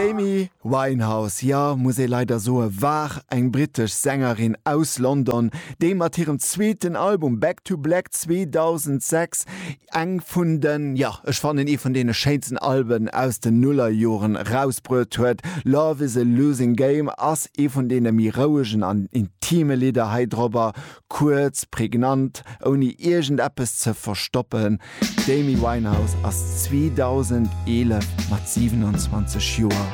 D'Amy Winehouse, jo, muss ee leider soe, war eng brittesch Sängerin aus London, déi mat hirem zweeten Album Back to Black 2006 eng vun den, jo, ech fannen ee vun deene schéinsten Alben aus den Nullerjoren erausbruet huet. Love is a Losing Game ass ee vun deene méi rouegen an intime Lidder hei drobber, kuerz, prägnant, ouni iergendeppes ze verstoppen. D'Amy Winehouse ass 2011 mat 27 Joer.